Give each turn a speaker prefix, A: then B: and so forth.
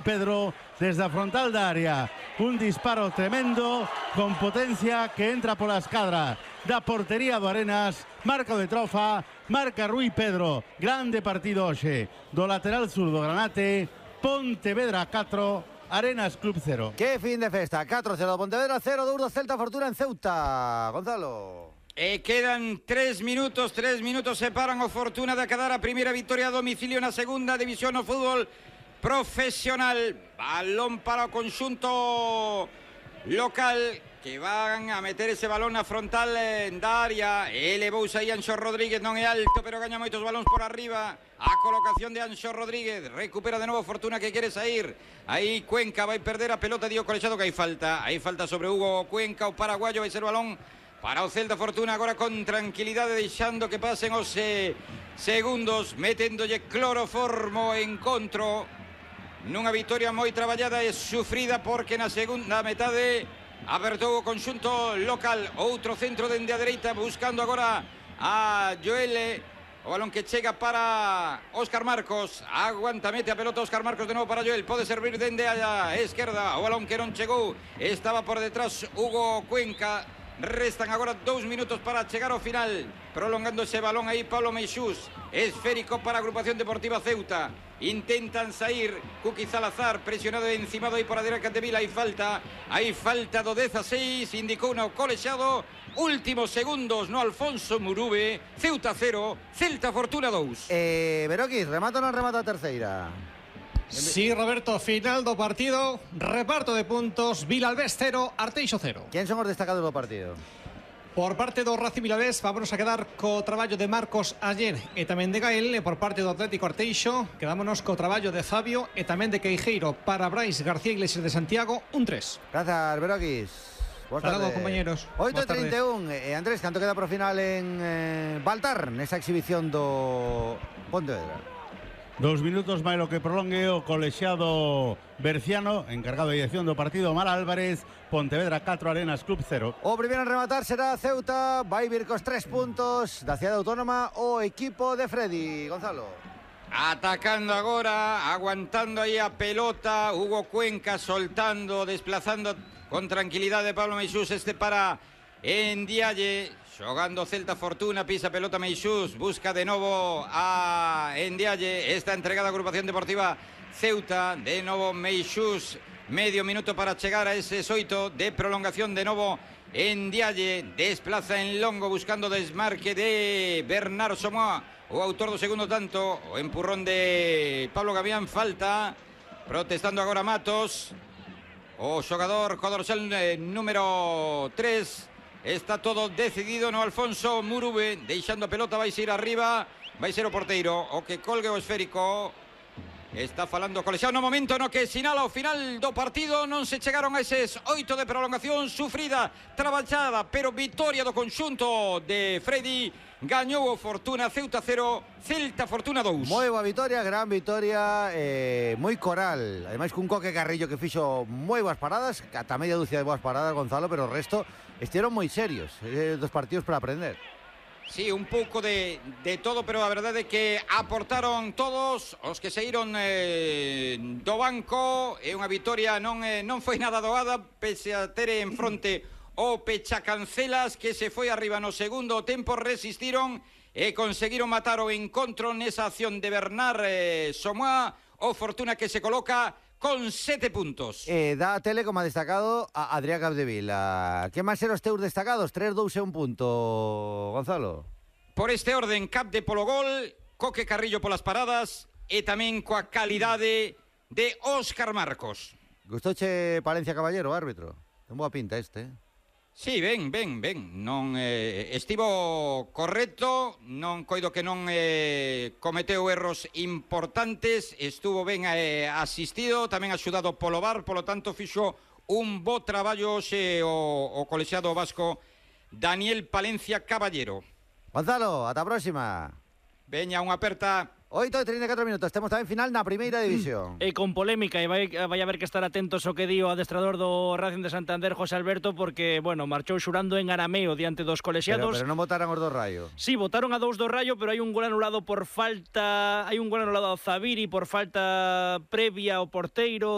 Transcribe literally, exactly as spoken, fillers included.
A: Pedro desde a frontal da área, un disparo tremendo con potencia que entra pola escadra da portería do Arenas, marca de Trofa, marca Rui Pedro, grande partido hoxe do lateral sur do Granate. Pontevedra catro, Arenas Club cero.
B: Que fin de festa, catro cero, Pontevedra cero, dous do Celta Fortuna en Ceuta. Gonzalo.
C: E quedan tres minutos, tres minutos separan o Fortuna de acadar a primeira victoria a domicilio na segunda división no fútbol profesional. Balón para o conxunto local que van a meter ese balón na frontal da área. Elevouse aí Anxo Rodríguez, non é alto, pero gaña moitos balóns por arriba. A colocación de Anxo Rodríguez, recupera de novo Fortuna que quere sair. Aí Cuenca vai perder a pelota, dio colexado que hai falta. Hai falta sobre Hugo Cuenca, o paraguayo, vai ser o balón para o Celta. Fortuna agora con tranquilidade, deixando que pasen os eh, segundos, meténdolle cloroformo en encontro. Nunha victoria moi traballada e sufrida, porque na segunda metade abertou o conxunto local. Outro centro dende a dereita, buscando agora a Joel. O balón que chega para Óscar Marcos. Aguanta, mete a pelota Óscar Marcos de novo para Joel. Pode servir dende a esquerda. O balón que non chegou, estaba por detrás Hugo Cuenca. Restan agora dous minutos para chegar ao final. Prolongando ese balón aí Pablo Meixús. Esférico para a agrupación deportiva Ceuta. Intentan sair. Cuqui Salazar presionado e encimado aí por a derecha de Vila. Hai falta. Hai falta do dezaseis. Indicou no colexado. Últimos segundos no Alfonso Murube. Ceuta cero, Celta Fortuna dous.
B: Eh, Beroquis, remata ou non remata a terceira?
D: Sí, Roberto, final do partido, reparto de puntos, Vilalbés cero, Arteixo cero.
B: Quen son os destacados do partido?
D: Por parte do Racing Vilalbés, vámonos a quedar co traballo de Marcos Ayer e tamén de Gael. E por parte do Atlético Arteixo, quedámonos co traballo de Fabio e tamén de Queijeiro. Para Brais García Iglesias de Santiago, un tres.
B: Gracias, Beroquis. Boas
D: tardes, compañeros.
B: oito e trinta e un. Eh, Andrés, canto queda pro final en eh, Baltar, nesa exhibición do Pontevedra?
A: Dos minutos máis lo que prolongue o colexiado Berciano, encargado de dirección do partido, Omar Álvarez. Pontevedra catro, Arenas Club cero.
B: O primeiro en rematar será Ceuta, vai vir cos tres puntos da cidade autónoma o equipo de Freddy. Gonzalo.
C: Atacando agora, aguantando aí a pelota, Hugo Cuenca soltando, desplazando con tranquilidade Pablo Meixús, este para Endialle. Xogando Celta Fortuna, pisa pelota Meixús, busca de novo a Endialle. Esta entregada a agrupación deportiva Ceuta, de novo Meixús, medio minuto para chegar a ese oito de prolongación. De novo Endialle, desplaza en longo buscando desmarque de Bernardo Somoa, o autor do segundo tanto. O empurrón de Pablo Gavián, falta, protestando agora Matos, o xogador co dorsal eh, número tres. Está todo decidido no Alfonso Murube, deixando a pelota, vai ser arriba, vai ser o porteiro o que colgue o esférico. Está falando o colexiado no momento no que sinala o final do partido. Non se chegaron a eses oito de prolongación, sufrida, traballada, pero victoria do conxunto de Freddy. Gañou o Fortuna, Ceuta cero, Celta Fortuna dous.
B: Moi boa vitoria, gran vitoria, eh, moi coral. Ademais cun Coque Carrillo que fixo moi boas paradas, ata media dúcia de boas paradas, Gonzalo, pero o resto estiveron moi serios, eh, dos partidos para aprender.
C: Sí, un pouco de, de todo, pero a verdade é que aportaron todos os que saíron eh, do banco. É unha vitoria, non, eh, non foi nada doada, pese a ter en fronte o Pechacancelas, que se foi arriba no segundo tempo. Resistiron e conseguiron matar o encontro nesa acción de Bernard eh, Somoa. O Fortuna que se coloca con sete puntos.
B: Eh, da a tele como ha destacado a Adrián Capdevila. Que máis eran os teus destacados? tres, dous e un punto, Gonzalo.
C: Por este orden, Capde polo gol, Coque Carrillo polas paradas e tamén coa calidade de Óscar Marcos.
B: Gustouche Palencia Caballero, árbitro? Ten boa pinta este, eh?
C: Sí, ben, ben, ben. Non eh, estivo correcto, non coido que non eh, cometeu erros importantes, estuvo ben eh, asistido, tamén axudado polo V A R, polo tanto fixo un bo traballo xe o, o colexiado vasco Daniel Palencia Caballero.
B: Gonzalo, ata a próxima.
C: Veña, unha aperta.
B: oito e trinta e catro minutos, temos tamén final na primeira división.
E: E con polémica, e vai, vai haber que estar atentos ao que di o adestrador do Racing de Santander, José Alberto, porque, bueno, marchou xurando en arameo diante dos colexiados.
B: Pero, pero non votaran os do Raio.
E: Sí, votaron a dous do Raio, pero hai un gol anulado por falta, hai un gol anulado ao Zaviri por falta previa ao porteiro